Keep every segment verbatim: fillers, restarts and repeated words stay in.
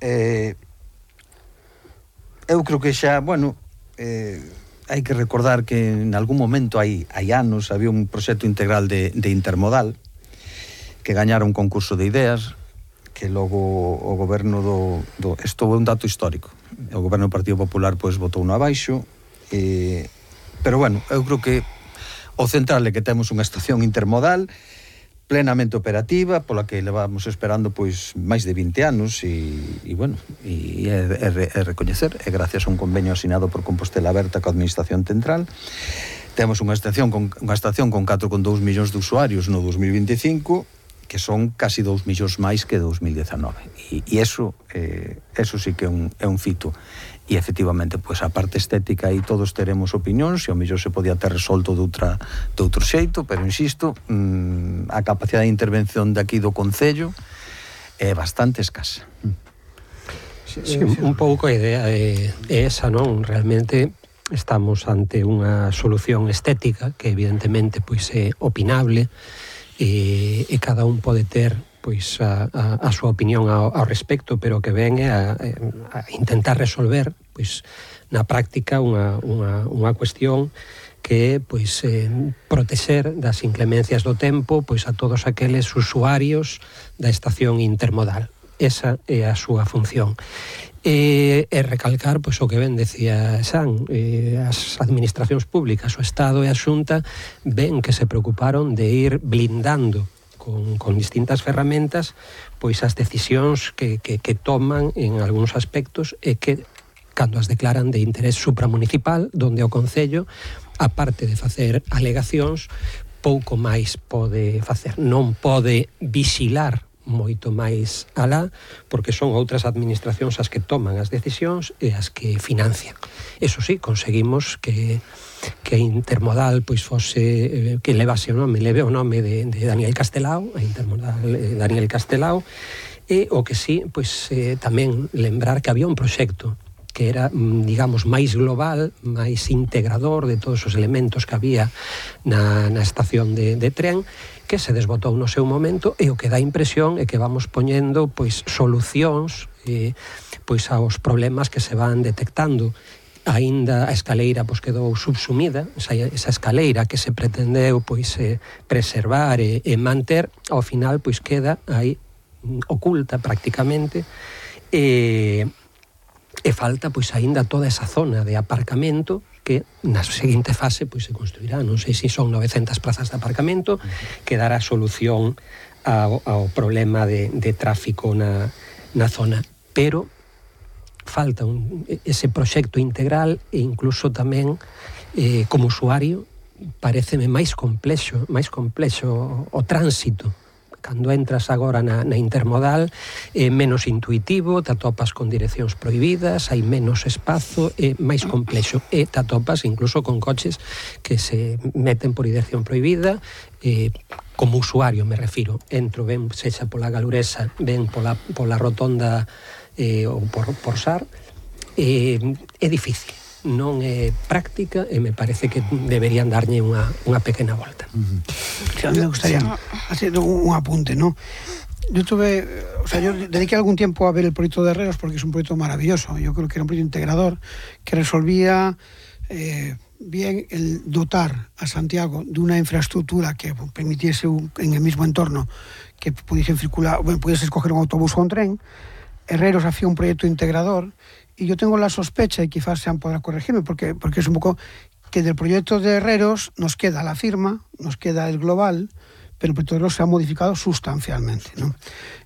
eh, eu creo que xa, bueno, eh, hai que recordar que en algún momento hai, hai anos había un proxecto integral de, de intermodal que gañara un concurso de ideas que logo o goberno do, do isto é un dato histórico, o goberno do Partido Popular pois votou no abaixo, eh, pero bueno, eu creo que o central é que temos unha estación intermodal plenamente operativa, pola que levamos esperando pois máis de vinte anos e, e bueno, e é, é, é recoñecer, é gracias a un convenio asinado por Compostela Aberta coa Administración Central. Temos unha estación con, unha estación con catro coma dous millóns de usuarios no dos mil vinte e cinco, que son casi dous millóns máis que dos mil dezanove. E, e eso, eh, eso sí que é un, é un fito. E efectivamente, pois a parte estética aí todos teremos opinións, e ao mellor se podía ter resolto de outra de outro xeito, pero insisto, mmm, a capacidade de intervención de aquí do Concello é bastante escasa. Sí, sí, un pouco a idea é, é esa, non? Realmente estamos ante unha solución estética que evidentemente pois é opinable, e, e cada un pode ter pois a, a, a súa opinión ao, ao respecto, pero que ven a, a intentar resolver pois na práctica unha, unha, unha cuestión que é pois eh, protexer das inclemencias do tempo pois a todos aqueles usuarios da estación intermodal. Esa é a súa función. E, e recalcar pois o que ben decía Xan, eh, as administracións públicas, o Estado e a Xunta ven que se preocuparon de ir blindando con, con distintas ferramentas pois as decisións que, que, que toman en algúns aspectos e que cando as declaran de interés supramunicipal, donde o Concello, aparte de facer alegacións, pouco máis pode facer. Non pode vixilar moito máis alá, porque son outras administracións as que toman as decisións e as que financian. Eso sí, conseguimos que que Intermodal pois fose, que levase o nome, leve o nome de, de Daniel Castelao, a Intermodal eh, Daniel Castelao, e o que sí, pois eh, tamén lembrar que había un proxecto que era, digamos, máis global, máis integrador de todos os elementos que había na, na estación de, de tren, que se desbotou no seu momento, e o que dá impresión é que vamos poñendo pois solucións eh, pois aos problemas que se van detectando. Aínda a escaleira pois quedou subsumida, esa, esa escaleira que se pretendeu pois eh, preservar e, e manter, ao final pois queda aí oculta prácticamente, e, e falta pois aínda toda esa zona de aparcamento que na seguinte fase pois se construirá, non sei se son novecentas plazas de aparcamento, que dará solución ao, ao problema de, de tráfico na, na zona, pero falta un, ese proxecto integral, e incluso tamén eh, como usuario pareceme máis complexo, máis complexo o tránsito. Cando entras agora na, na intermodal é menos intuitivo, te atopas con direccións prohibidas, hai menos espazo, é máis complexo, e te atopas incluso con coches que se meten por dirección prohibida, eh, como usuario me refiro, entro ben sexa pola Galuresa, ben pola, pola rotonda eh, ou por, por Sar, eh, é difícil, non é práctica, e me parece que deberían darlle unha, unha pequena volta. Uh-huh. Sí, a mí me gustaría hacer un, un apunte, ¿no? Yo tuve, o sea, yo dediqué algún tiempo a ver el proyecto de Herreros porque es un proyecto maravilloso. Yo creo que era un proyecto integrador que resolvía eh, bien el dotar a Santiago de una infraestructura que permitiese un, en el mismo entorno que pudiesen circular, bueno, pudiese escoger un autobús o un tren. Herreros hacía un proyecto integrador. Y yo tengo la sospecha, y quizás Sean podrá corregirme, porque, porque es un poco que del proyecto de Herreros nos queda la firma, nos queda el global, pero el proyecto de Herreros se ha modificado sustancialmente, ¿no?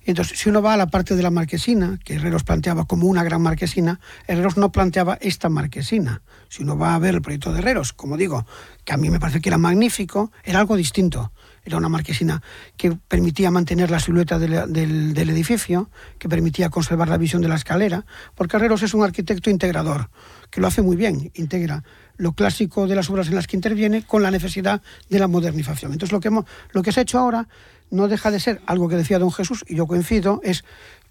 Y entonces, si uno va a la parte de la marquesina, que Herreros planteaba como una gran marquesina, Herreros no planteaba esta marquesina. Si uno va a ver el proyecto de Herreros, como digo, que a mí me parece que era magnífico, era algo distinto. Era una marquesina que permitía mantener la silueta del, del, del edificio, que permitía conservar la visión de la escalera, porque Herreros es un arquitecto integrador, que lo hace muy bien, integra lo clásico de las obras en las que interviene con la necesidad de la modernización. Entonces lo que, hemos, lo que se ha hecho ahora no deja de ser algo que decía don Jesús, y yo coincido, es,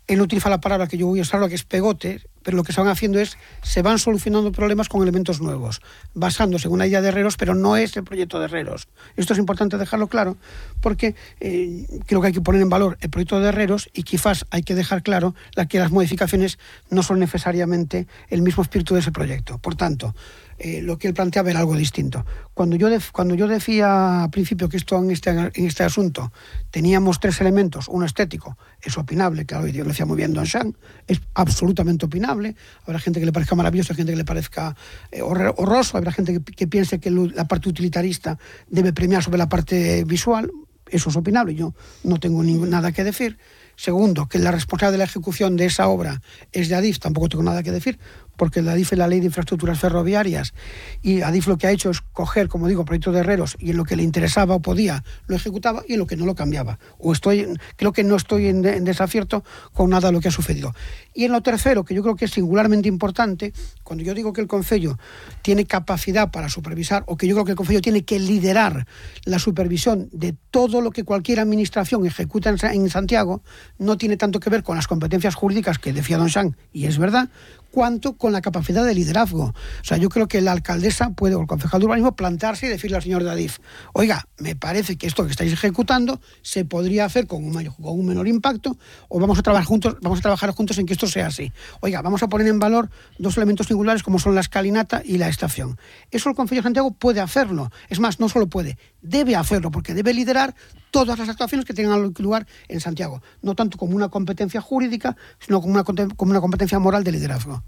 él utiliza la palabra que yo voy a usar, lo que es pegote, pero lo que se van haciendo es, se van solucionando problemas con elementos nuevos, basándose en una idea de Herreros, pero no es el proyecto de Herreros. Esto es importante dejarlo claro, porque eh, creo que hay que poner en valor el proyecto de Herreros y quizás hay que dejar claro la que las modificaciones no son necesariamente el mismo espíritu de ese proyecto. Por tanto, Eh, lo que él planteaba era algo distinto. Cuando yo, def, cuando yo decía al principio que esto en este, en este asunto teníamos tres elementos, uno estético, es opinable, claro, y lo decía muy bien Don Xan, es absolutamente opinable, habrá gente que le parezca maravilloso, gente que le parezca eh, horroroso, habrá gente que, que piense que la parte utilitarista debe premiar sobre la parte visual, eso es opinable, yo no tengo ningún, nada que decir. Segundo, que la responsabilidad de la ejecución de esa obra es de Adif, tampoco tengo nada que decir, porque la Adif es la Ley de Infraestructuras Ferroviarias y Adif lo que ha hecho es coger, como digo, proyectos de Herreros y en lo que le interesaba o podía lo ejecutaba y en lo que no lo cambiaba. O estoy, creo que no estoy en, en desacierto con nada de lo que ha sucedido. Y en lo tercero, que yo creo que es singularmente importante, cuando yo digo que el Concello tiene capacidad para supervisar, o que yo creo que el Concello tiene que liderar la supervisión de todo lo que cualquier administración ejecuta en, en Santiago, no tiene tanto que ver con las competencias jurídicas que decía Don Xan, y es verdad, cuanto con la capacidad de liderazgo. O sea, yo creo que la alcaldesa puede, o el concejal de urbanismo, plantarse y decirle al señor de Adif, oiga, me parece que esto que estáis ejecutando se podría hacer con un, mayor, con un menor impacto, o vamos a trabajar juntos, vamos a trabajar juntos en que esto sea así. Oiga, vamos a poner en valor dos elementos singulares como son la escalinata y la estación. Eso el Concello de Santiago puede hacerlo. Es más, no solo puede, debe hacerlo, porque debe liderar todas las actuaciones que tengan lugar en Santiago, no tanto como una competencia jurídica, sino como una, como una competencia moral de liderazgo.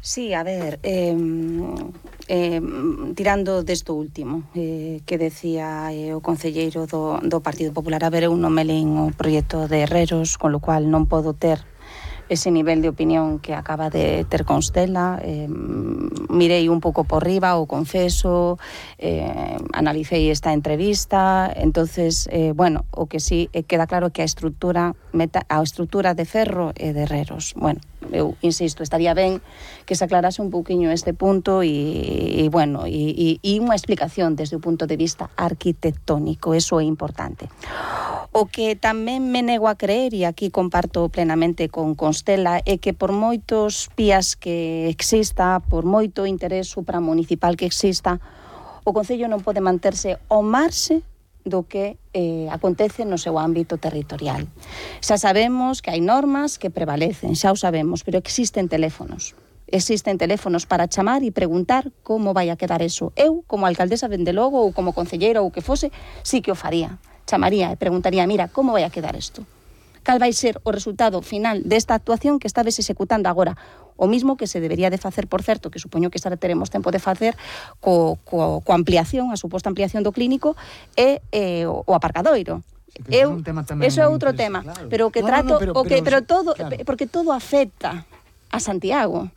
Sí, a ver, eh, eh, tirando desto último eh, que decía eh, o concelleiro do, do Partido Popular, a ver, eu non me leín o proxecto de Herreros, con lo cual non podo ter ese nivel de opinión que acaba de ter Constela. Eh, mirei un pouco por riba, o confeso, eh, analicei esta entrevista, entonces, eh, bueno, o que sí eh, queda claro que a estrutura meta, a estrutura de Ferro e de Herreros, bueno, eu insisto, estaría ben que se aclarase un pouquiño este punto e, e bueno, e, e unha explicación desde o punto de vista arquitectónico, eso é importante. O que tamén me nego a creer, e aquí comparto plenamente con Constela, é que por moitos pías que exista, por moito interés supramunicipal que exista, o Concello non pode manterse ao marxe do que eh, acontece no seu ámbito territorial. Xa sabemos que hai normas que prevalecen, xa o sabemos, pero existen teléfonos. Existen teléfonos para chamar e preguntar como vai a quedar eso. Eu, como alcaldesa, dende logo, ou como concelleira ou que fose, sí que o faría. Chamaría e preguntaría, mira, como vai a quedar isto? Cal vai ser o resultado final desta actuación que estades executando agora? O mismo que se debería de facer, por certo, que supoño que xa teremos tempo de facer co, co, co ampliación, a suposta ampliación do clínico e eh, o, o aparcadoiro. Sí, Eu, eso é outro tema, claro. Pero que no, trato, no, no, pero, o que, pero, pero todo, claro. Porque todo afecta a Santiago.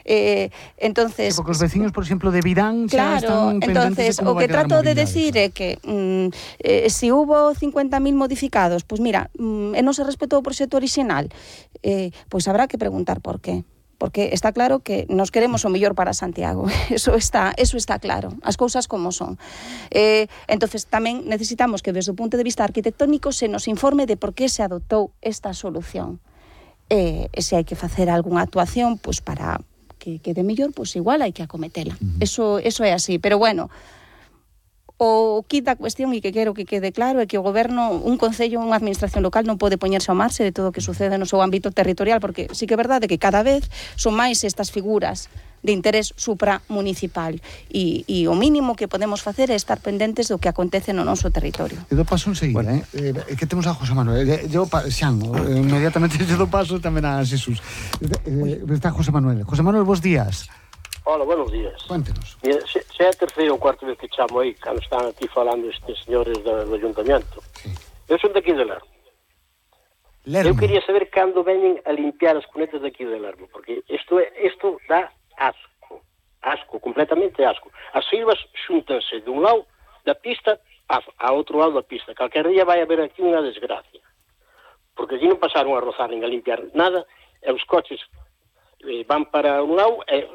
Eh, entonces, sí, porque os veciños, por exemplo, de Virán claro, xa están pendentes entonces, de como o que trato de decir claro. é que mm, eh, si hubo cincuenta mil modificados, pois pues mira, mm, e non se respetou o proxecto original, eh, pois pues habrá que preguntar por qué. Porque está claro que nos queremos o mellor para Santiago. Eso está, eso está claro. As cousas como son. Eh, entonces tamén necesitamos que desde o punto de vista arquitectónico se nos informe de por que se adoptou esta solución. Eh, e se hai que facer algunha actuación, pois pues para que quede mellor, pois pues igual hai que acometela. Uh-huh. Eso, eso é así. Pero bueno, o quita a cuestión e que quero que quede claro é que o goberno, un concello, unha administración local non pode poñerse ao marxe de todo o que sucede no seu ámbito territorial, porque sí que é verdade que cada vez son máis estas figuras de interés supramunicipal e, e o mínimo que podemos facer é estar pendentes do que acontece no noso territorio. Eu do paso enseguida, bueno. eh? eh? que temos a José Manuel. Eu, Xan, eh, inmediatamente eu do paso tamén a Xesús. Eh, está José Manuel. José Manuel, bons días. Hola, buenos días. Cuéntenos. Se, se é a terceira ou cuarta vez que chamo aí, cando están aquí falando estes señores do, do Ayuntamiento. Sí. Eu son daqui de Lermo. Lermo. Eu quería saber cando veñen a limpiar as cunetas daqui de Lermo, porque isto, é, isto dá asco. Asco, completamente asco. As silvas xúntanse dun lado da pista a, a outro lado da pista. Calquer día vai haber aquí unha desgracia. Porque aquí non pasaron a rozar nin a limpiar nada, e os coches eh, van para un lado e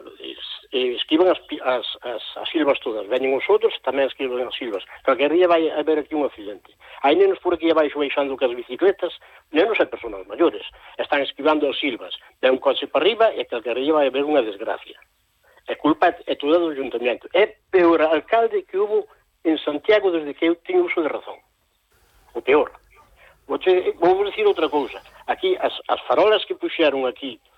eh, esquivan as, as, as, as silvas todas, veñen os outros e tamén esquivan as silvas. Calquer día vai haber aquí un accidente. Hai nenos por aquí abaixo baixando cas bicicletas, nenos e personas maiores, están esquivando as silvas, ven un coche para arriba e calquer día vai haber unha desgracia. É culpa é toda do Ayuntamento. É peor alcalde que hubo en Santiago desde que eu teño uso de razón. O peor. Vou, vou dicir outra cousa. Aquí, as, as farolas que puxeron aquí